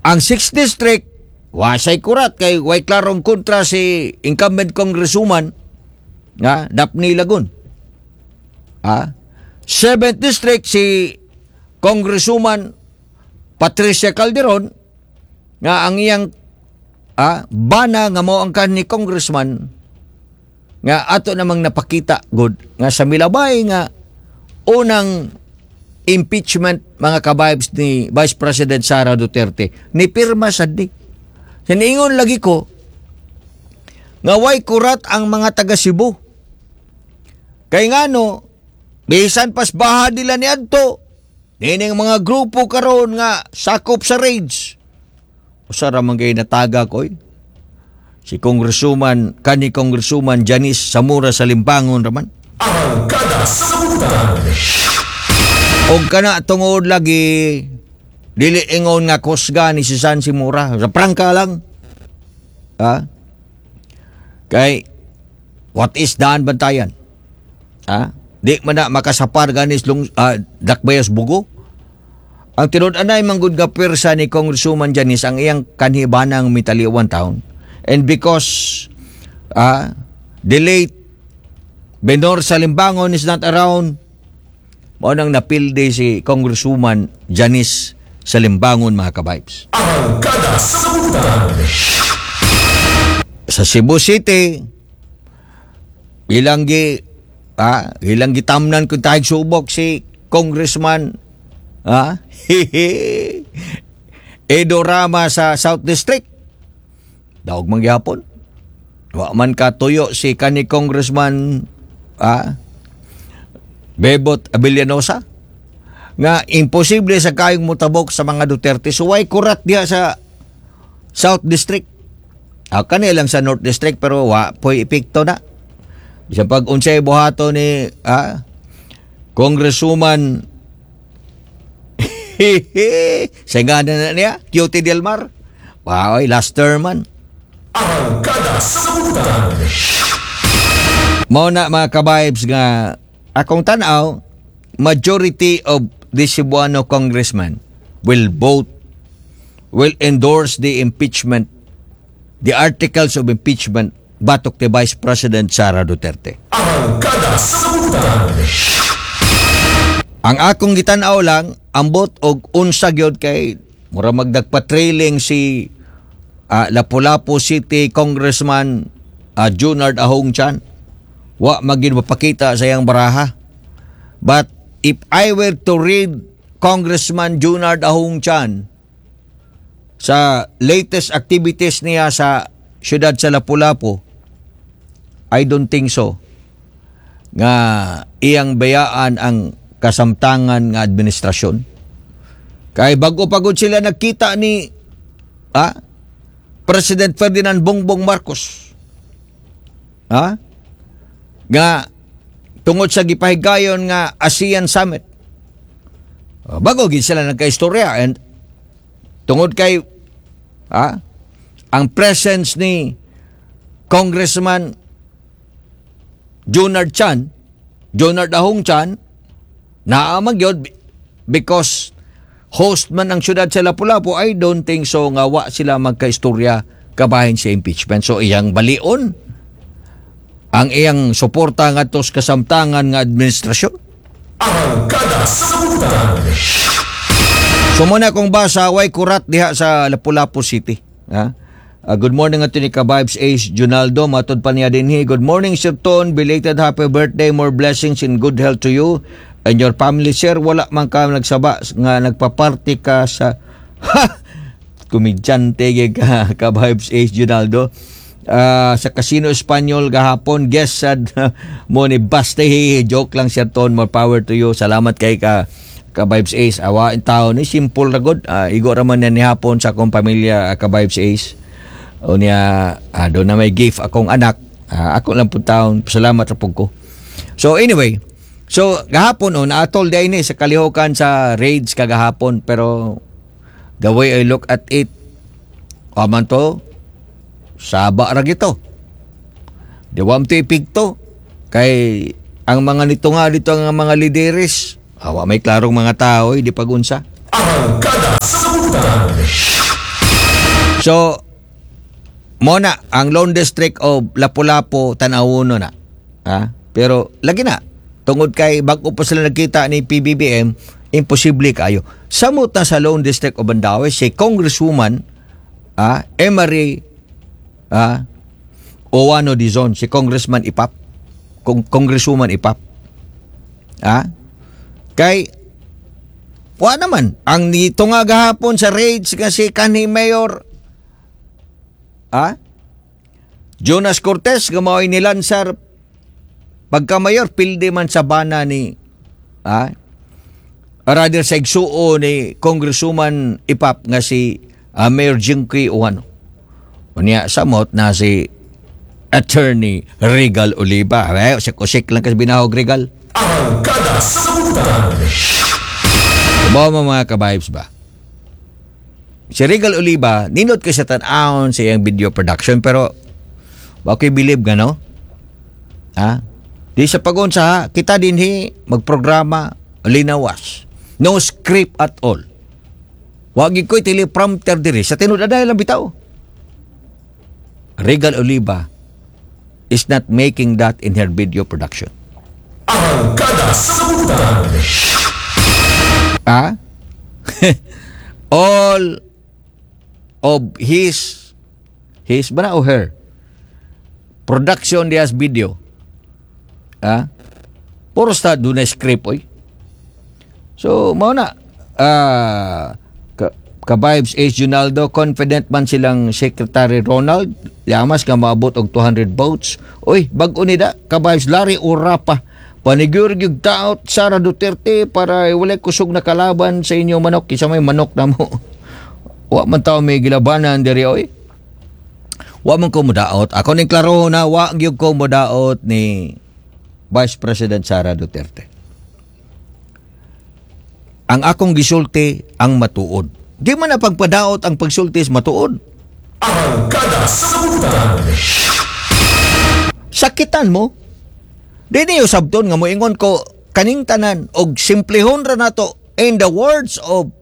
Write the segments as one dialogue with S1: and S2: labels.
S1: Ang 6th District, wasay kurat kay way klarong kontra si incumbent congresswoman nga Daphne Lagun. 7th District, si Congresswoman Patricia Calderon nga ang iyang bana nga mao ang kanhi congressman nga ato namang napakita good nga sa milabay nga unang impeachment, mga ka-vibes, ni Vice President Sara Duterte, ni pirma sad ni. Siniingon lagi ko nga way kurat ang mga taga Cebu. Kay ngano, bisan pas baha nila ni adto nining mga grupo karon nga sakop sa raids. Usa ra man gay nataga ko, oy. Si Congresswoman, kani Congresswoman Janice Zamora Salimbangon raman.
S2: Arangkada sa Butan.
S1: Og kana tungod lagi dili ingon nga kusga ni si San Simura. Sa prangka lang. Ha? Kay what is Daan Bantayan? Ha? Di man na makasapar ganis lung dakbayas bugo. Ang tinud-anay manggod nga pwersa ni Congresswoman Janice ang iyang kanhibanang mitaliwan town. And because the late Benor Salimbangon is not around, mao nang napildi si Congresswoman Janice Salimbangon, mga ka-vibes.
S2: Arangkada sa Butan.
S1: Sa Cebu City, ilang gitamnan kung tayo subok si Congressman Edo Rama sa South District. Daog man gihapon. Wa man katuyo si kani Congressman Bebot Abellanosa nga imposible sa kayong mutabok sa mga Duterte. So way kurat diha sa South District. Kani lang sa North District, pero wa po'y epekto na. Bisan pag unsay buhato ni Congresswoman sa nga na niya, Cutie Del Mar. Wow, last term man.
S2: Arangkada sa Butan.
S1: Mao na, mga ka-vibes, nga akong tanaw, majority of the Cebuano congressman will vote, will endorse the impeachment, the articles of impeachment batok ni Vice President Sara Duterte.
S2: Arangkada sa Butan.
S1: Ang akong gitan-aw lang, ambot og unsa gyud kay mura magdagpa-trailing si Lapu-Lapu City Congressman Junard Ahong Chan. Wa magin mapakita sa iyang baraha. But if I were to read Congressman Junard Ahong Chan sa latest activities niya sa siyudad sa Lapu-Lapu, I don't think so nga iyang bayaan ang kasamtangan nga administrasyon. Kay bago pagod sila nagkita ni President Ferdinand Bongbong Marcos. Ha? Nga tungod sa gipahigayon nga ASEAN Summit. Bago gid sila nagkaistorya and tungod kay ang presence ni Congressman Junard Chan, Junard Ahong Chan, naa magyod because host man ang syudad sa Lapu-Lapu, I don't think so nga wa sila magkaistorya kabahin sa impeachment. So iyang balion ang iyang suporta ngadto sa kasamtangan nga administrasyon.
S2: Arangkada sa Butan.
S1: So muna kong basa, way kurat diha sa Lapu-Lapu City. Ha? Good morning ato ni Ka-Vibes Ace Junaldo. Matod pa niya dinhi. Good morning, Sir Ton. Belated happy birthday. More blessings and good health to you and your family. Sir, wala man ka nagsaba nga nagpa-party ka sa. Ha! Komedyante gyud ka, Ka-Vibes Ace Junaldo. Sa Casino Espanyol gahapon, guest sad mo ni Baste. Joke lang, Sir Ton. More power to you. Salamat kay ka, Ka-Vibes Ace. Awa in taon ni simple ra gud. Igo ra man ni hapon sa akong pamilya, Ka-Vibes Ace. O niya, doon na may gift akong anak. Ako lang po taon. Salamat ra pud ko. So anyway, so gahapon oh, naatol di ni sa kalihokan sa raids kagahapon, pero the way I look at it, aman to, saba ra gito. Di wa to epekto kay ang mga nito nga dito ang mga lideres, awa may klarong mga tao, di pagunsa.
S2: Arangkada sa Butan.
S1: So, mao na ang Lone District of Lapu-Lapu, tan-awon na. Ha? Pero lagi na tungod kay bag-o pa sila nagkita ni PBBM, imposible kayo. Samot na sa Lone District of Mandaue si Congresswoman Emery Ouano Dizon, si Congressman Ipap. Congresswoman Ipap. Kay wa naman ang nitunga gahapon sa raids nga si kanhi Mayor Jonas Cortez nga mao'y nilansar pagka mayor, pildi man sa bana ni rather sa igsuo ni Congresswoman Ipap nga si Mayor Jinky Ouano. Unya samot na si Attorney Regal Oliva. Eh, usik-usik lang kasi binahog, Regal.
S2: Arangkada sa Butan.
S1: Ba mo, mga ka-vibes ba? Si Regal Oliva, nindot kay sa tan-awon sa iyang video production, pero wa ko'y believe nga, no? Ha? Di sa pagunsa ha, kita dinhi magprograma linawas. No script at all. Wa gyud ko'y teleprompter diri sa tinud lang bitaw. Regal Oliva is not making that in her video production.
S2: Arangkada sa Butan.
S1: Ah? All of his ba na o her production dias video, puro sa doon na script, oy. So mao na, ka-vibes Ace Junaldo, confident man silang Secretary Ronald Llamas nga maabot og 200 votes. Oy, bag-o ni da, ka-vibes Larry Urapa. Paniguro gyud taot Sara Duterte para walay kusog na kalaban sa inyo manok. Kinsa may manok na mo? Wa man tao may gilabanan diri, oy. Wa man ko mudaot. Ako ning klaro na wa gyud ko mudaot ni Vice President Sara Duterte. Ang akong gisulti ang matuod. Di man na pagpadaot ang pagsulti is matuod.
S2: Arangkada sa Butan.
S1: Sakitan mo. Di niyo sabton nga moingon ko kaning tanan og simplehon ra nato in the words of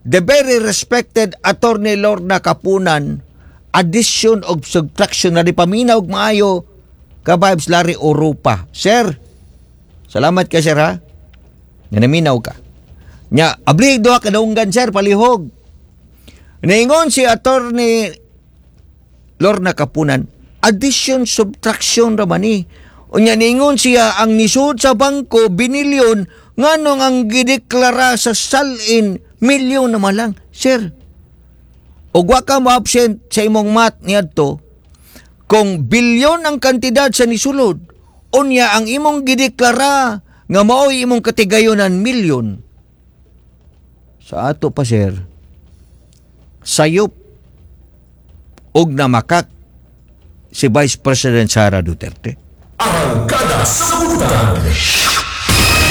S1: the very respected Attorney Lorna Kapunan, addition og subtraction na di paminaw og maayo, ka-vibes Larry Europa. Sir, salamat ka, sir, ha. Nga naminaw ka. Nya, ablig duha ka dunggan, sir, palihog. Niingon si Attorney Lorna Kapunan, addition subtraction ra man ni. Unya niingon siya ang nisud sa bangko binilyon, nganong ang gideklara sa SALN milyon naman lang. Sir, ug wa ka mo-absent sa imong math niadto, kung bilyon ang kantidad sa nisulod, unya ang imong gideklara nga mao'y imong katigayonan milyon. Sa ato pa, sir, sayop og namakak si Vice President Sara Duterte.
S2: Arangkada sa Butan.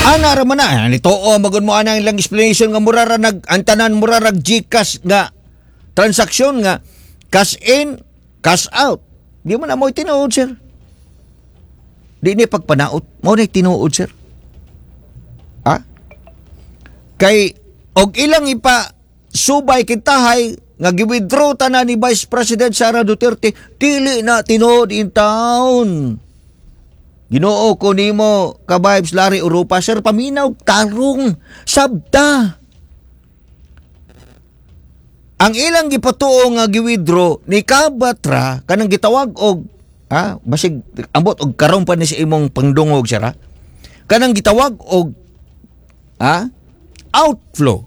S1: Ana ra man na, nituo magud mo ana ilang explanation nga mura ra nag ang tanan mura rag GCash nga transaksyon nga cash in, cash out. Di man na mo tinuod, sir. Di ni pagpanaot, mao na tinuod, sir. Ha? Kay og ilang ipa subay kintahay nga gi-withdraw tanan ni Vice President Sara Duterte, dili na tinuod in town. Ginoo ko nimo, ka-vibes Larry Europa, sir, paminaw tarong sabta. Ang ilang gipatuo nga gi-withdraw ni Kabatra kanang gitawag og basig ambot og karon pa ni sa imong pangdungog, sir, ha? Kanang gitawag og outflow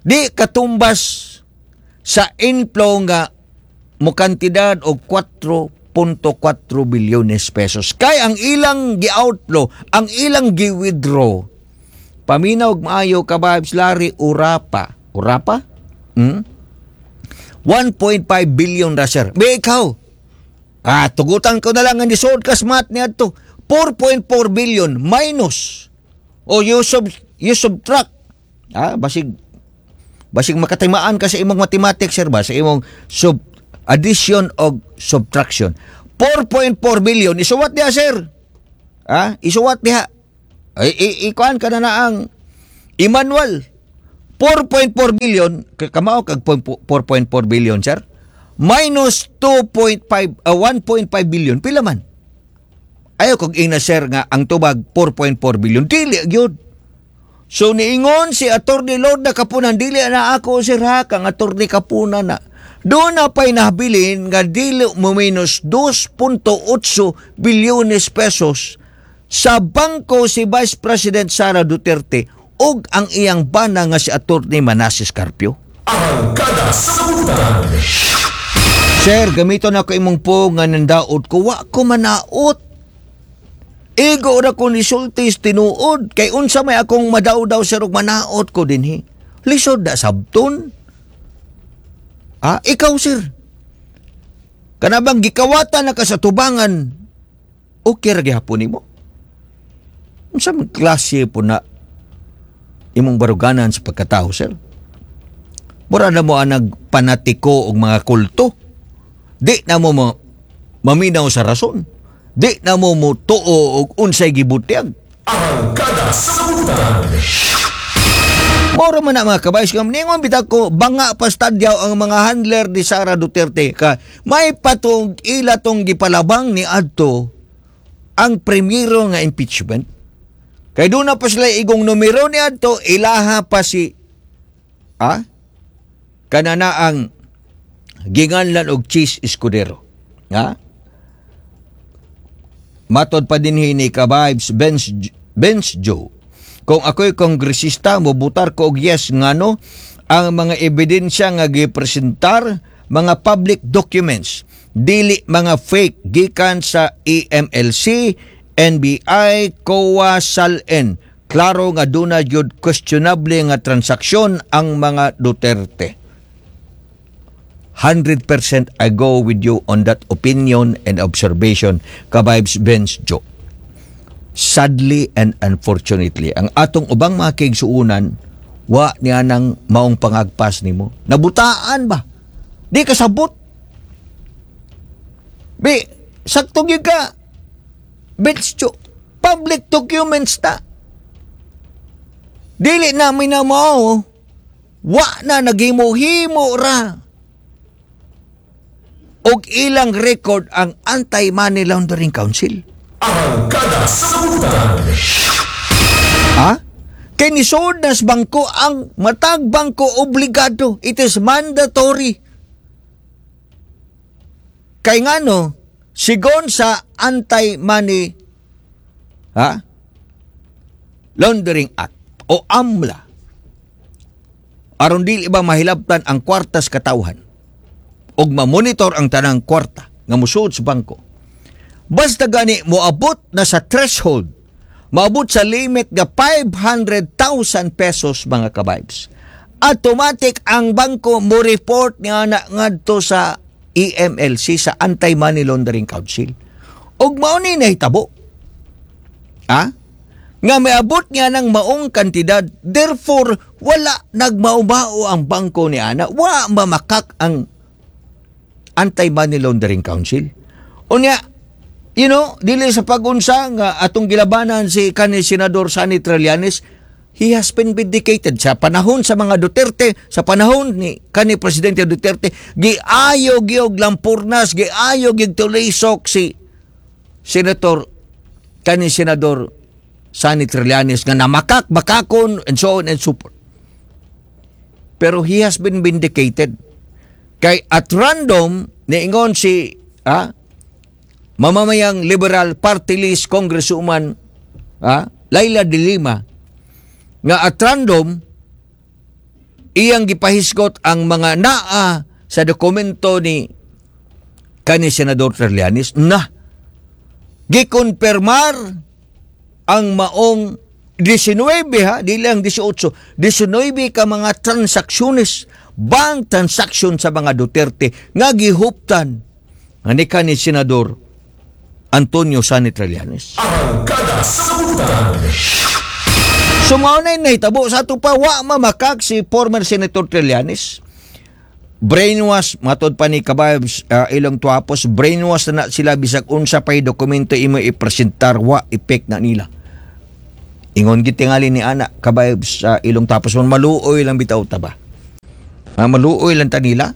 S1: di katumbas sa inflow nga mo kantidad og 4.4 bilyones pesos. Kay ang ilang gi-outflow, ang ilang gi-withdraw, paminaw og maayo, ka-vibes Larry Urapa. Urapa? Hmm? 1.5 billion ra, sir. Be ikaw. Tugutan ko na lang ang nisod kas math niadto. 4.4 billion minus o you subtract. Basig makatimaan ka sa imong mathematics, sir, ba sa imong addition og subtraction. 4.4 billion isuwat diha, sir. Isuwat diha. Ay, ikuan ka na na ang Emmanuel. 4.4 billion, kamao kag 4.4 billion, sir? Minus 2.5, 1.5 billion, pila man? Ayaw kog ingna, sir, nga ang tubag 4.4 billion. Dili gyud. So niingon si Attorney Lorna Kapunan, dili na ako, sir, ha, kang Attorney Kapunan na. Doon na pa'y nabilin nga dili mo minus 2.8 bilyones pesos sa bangko si Vice President Sara Duterte ug ang iyang bana nga si Attorney Manases Carpio.
S2: Arangkada sa Butan.
S1: Sir, gamito na ko imong po nga nandaot ko. Wa ko manaot. Igo ra ko ni sultis tinuod. Kay unsa may akong madaw-daw, sir, ug manaot ko dinhi. Lisod na sabton. Ah, ikaw, sir. Kanabang gikawatan na ka sa tubangan, okay ra gihapon nimo. Unsa man klase po na imong baruganan sa pagkatao, sir? Mura na mo ang nagpanatiko og mga kulto. Di na mo maminaw sa rason. Di na mo mo tuo og unsay gibutyag.
S2: Arangkada sa Butan.
S1: Moro man na, mga kabays, kam ningon bitag ko banga pa stadyaw ang mga handler ni Sara Duterte ka may patong ila tong gipalabang ni adto ang primero nga impeachment. Kay doon na pa sila igong numero ni adto, ilaha pa si kanana ang ginganlan og Chiz Escudero. Ha? Matod pa din ni ka-vibes Benz, Benz Joe. Kung ako'y kongresista, mobutar ko og yes, ngano ang mga ebidensya nga gipresentar, mga public documents, dili mga fake, gikan sa AMLC, NBI, COA, SALN. Klaro nga duna gyud questionable nga transaksyon ang mga Duterte. 100% I go with you on that opinion and observation, ka-vibes Benz Joe. Sadly and unfortunately, ang atong ubang mga kaigsuunan, wa niya nang maong pangagpas nimo. Nabutaan ba? Di ka sabot. Bi, sakto gyud ka. Benz Joe, public documents na. Dili namin na mao. Wa na naghimo-himo ra og ilang record ang Anti-Money Laundering Council.
S2: Arangkada sa Butan.
S1: Ha? Kay nisod nas bangko, ang matag bangko obligado. It is mandatory. Kay ngano, sigon sa Anti-Money, ha, Laundering Act o AMLA, aron dili ba mahilabtan ang kwartas katawhan ug mamonitor ang tanang kwarta nga musuod sa bangko. Basta gani moabot na sa threshold, maabot sa limit nga 500,000 pesos, mga kabibes, automatic ang bangko mo report nga na ngadto sa AMLC, sa Anti-Money Laundering Council. Ug mao ni nahitabo. Ha? Nga miabot niya ng maong kantidad, therefore wala nagmaumao ang bangko ni ana, wa mamakak ang Anti-Money Laundering Council. Unya, dili sa pagunsa nga atong gilabanan si kani Senador Sonny Trillanes, he has been vindicated sa panahon sa mga Duterte, sa panahon ni kani Presidente Duterte, giayo gyud lampurnas, giayo gyud tulisok si Senator kani Senador Sonny Trillanes nga namakak, makakon, and so on and so forth. Pero he has been vindicated. Kay at random, niingon si mamamayang Liberal Party List Congresswoman Leila de Lima nga at random iyang gipahisgot ang mga naa sa dokumento ni kani Senador Trillanes na gikonfirmar ang maong 19, ha, di lang 18, 19 ka mga transaksyones, bank transaction sa mga Duterte nga gihuptan nga ni kani Senador Antonio Sonny Trillanes.
S2: Arangkada sa Butan.
S1: So mao na nahitabo sa ato pa, wa mamakak si former Senator Trillanes. Brainwash, matod pa ni Kababs ilang tuapos, brainwash na sila, bisag unsa pay dokumento imo ipresentar, wa epek na nila. Ingon gitingali ni ana, ka-vibes, sa ilong tapos man maluoy lang bitaw ta ba? Ha, maluoy lang ta nila?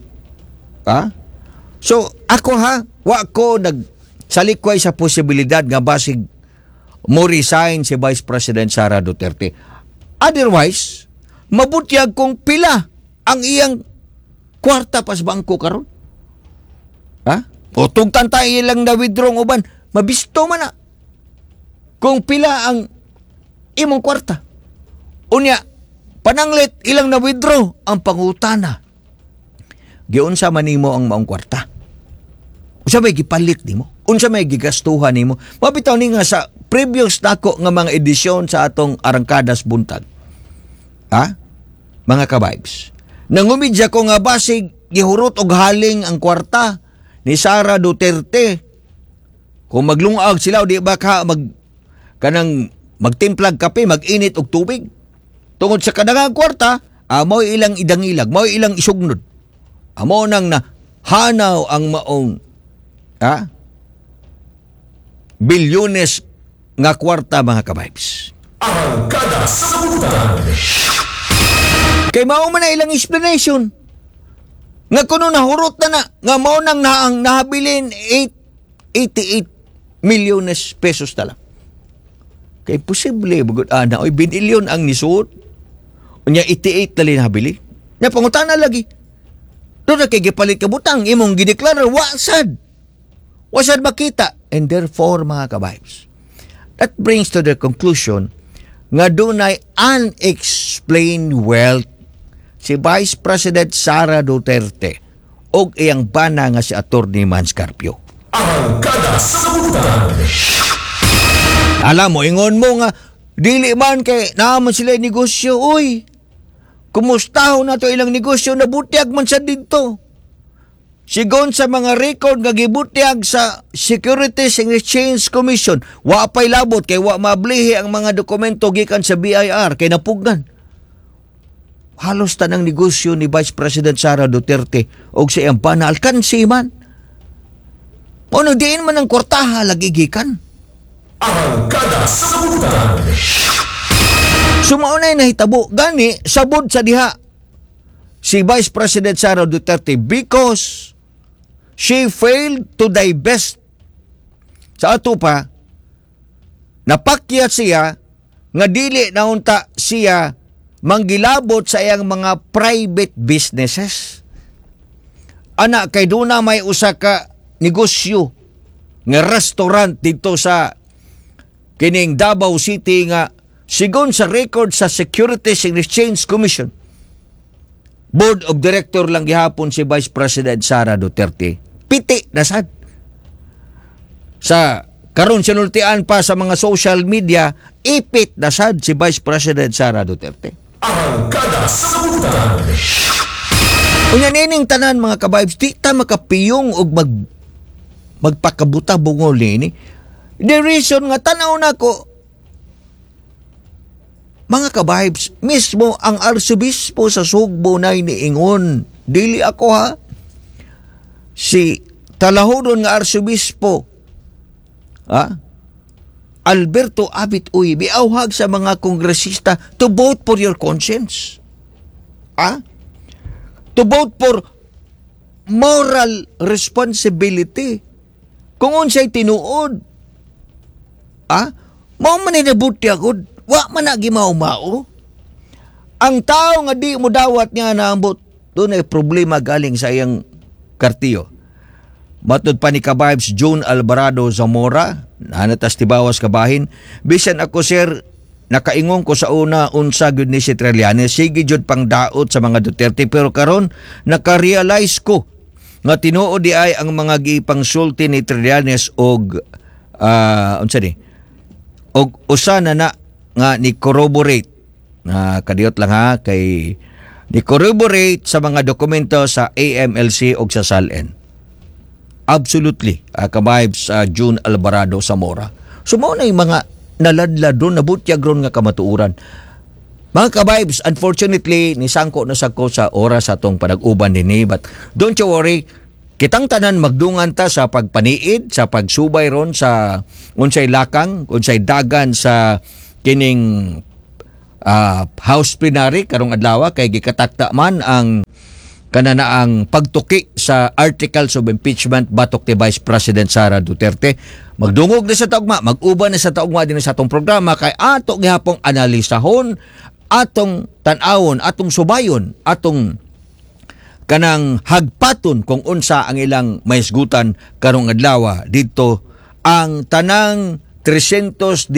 S1: Ha? So, ako ha, wa ko nag salikway sa posibilidad nga basig mo resign si Vice President Sara Duterte. Otherwise, mabutyag kung pila ang iyang kwarta pas bangko karon. Ha? O tugtan tayo ilang na withdraw ang uban, mabisto man na kung pila ang imong kwarta. Unya, pananglit ilang na withdraw ang pangutana. Giunsa man nimo ang maong kwarta? Unsa may gipalit nimo? Unsa may gigastuhan nimo? Mabitaw ni nga sa previous nako nga mga edisyon sa atong Arangkadas Buntag. Ha? Mga ka-vibes. Nangumidya ko nga basig gihurot og haling ang kwarta ni Sara Duterte. Kung maglungag sila o di ba ka mag kanang magtimplag kape, mag-init og tubig. Tungod sa kadangang kwarta, amo ilang idangilag, mao ilang isugnod. Amo nang na hanaw ang maong bilyones nga kwarta, mga ka-vibes.
S2: Arangkada sa Buntag.
S1: Kay mao man na ilang explanation. Nga kuno nahurot na na, nga mao nang naang nahabilin 888 milyones pesos na lang. Kay posible, bugod ana, oy, binilyon ang nisuot. Unya 88 na nabili. Nya pangutana lagi. Doon na kay gipalit ka butang, imong gideklara, wa sad. Wa sad makita. And therefore, mga ka-vibes, that brings to the conclusion nga dunay unexplained wealth si Vice President Sara Duterte og iyang bana nga si Attorney Mans Carpio.
S2: Arangkada sa Buntag.
S1: Alam mo, ingon mo nga, dili man kay naman sila negosyo, uy. Kumusta na to ilang negosyo, nabutyag man sa dito. Sigon sa mga record nga gibutyag sa Securities and Exchange Commission, wa pa'y labot kay wa mablihi ang mga dokumento gikan sa BIR kay napugnan. Halos tanang negosyo ni Vice President Sara Duterte og sa iyang bana alkansi man. Ono diin man ang kwartaha lagi gikan.
S2: Arangkada sa Buntag.
S1: So mao na nahitabo gani sabod sa diha si Vice President Sara Duterte because she failed to divest. Sa ato pa napakyat siya nga dili na unta siya manggilabot sa iyang mga private businesses. Ana kay duna may usa ka negosyo nga restaurant dito sa kining Davao City nga sigon sa record sa Securities and Exchange Commission, Board of Director lang gihapon si Vice President Sara Duterte. Piti na sad. Sa karon sinultian pa sa mga social media, ipit na sad si Vice President Sara Duterte.
S2: Arangkada sa Buntag.
S1: Unya nining tanan, mga ka-vibes, di ta makapiyong og magpakabuta bungol nini. The reason nga tanaw nako, mga ka-vibes, mismo ang arsobispo sa Sugbo na niingon, dili ako ha, si talahodon nga arsobispo, ha? Alberto Abit Uy, miawhag sa mga kongresista to vote for your conscience. Ah? To vote for moral responsibility. Kung unsay tinuod. Ah? Mao man ni nabutyag. Wa man na gimao-mao. Ang tao nga di mo dawat nga naambot, doon ay problema galing sa iyang kartiyo. Matud pa ni ka-vibes June Alvarado Zamora, nanatas tibawas kabahin, bisan ako, sir, nakaingon ko sa una unsa gyud ni si Trillanes, sige jud pang daot sa mga Duterte, pero karon naka-realize ko nga tinuod di ay ang mga gipangsulti ni Trillanes og unsa ni og usa na na nga ni corroborate na kadiyot lang ha kay ni corroborate sa mga dokumento sa AMLC og sa SALN. Absolutely, ka-vibes June Alvarado Zamora. So mao na yung mga naladlad ron, nabutyag ron nga kamatuoran. Mga ka-vibes, unfortunately, nisangko na sa ko sa oras atong panag-uban dinhi. But don't you worry, kitang tanan magdungan ta sa pagpaniid, sa pagsubay ron sa unsay lakang, unsay dagan sa Kining House plenary karong adlaw kay gikatakta man ang kananaang pagtuki sa articles of impeachment batok ni Vice President Sara Duterte. Magdungog na sa taugma, mag-uban na sa taugma din sa atong programa kay ato gihapong analisahon, atong tan-awon, atong subayon, atong kanang hagpaton kung unsa ang ilang mahisgutan karong adlaw didto ang tanang 318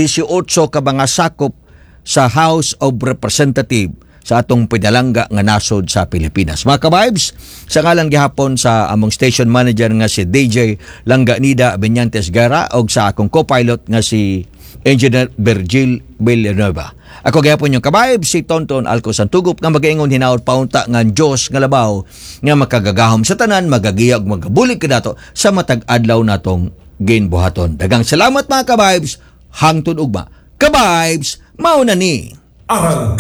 S1: ka mga sakop sa House of Representative sa atong pinalangga nga nasod sa Pilipinas. Mga ka-vibes, sa ngalan gihapon sa among station manager nga si DJ Langganida Benyantes Guerra og sa akong co-pilot nga si Engineer Virgil Villanueva. Ako gihapon inyong ka-vibes, si Tonton Alco Santugup, nga magaingon hinaot paunta nga ang Diyos nga labaw nga makagagahom sa tanan magagiya ug magabulig kanato sa matag adlaw natong ginbuhaton. Daghang salamat, mga ka-vibes, hangtod ugma. Ka-vibes, mao na ni.
S2: Arangkada.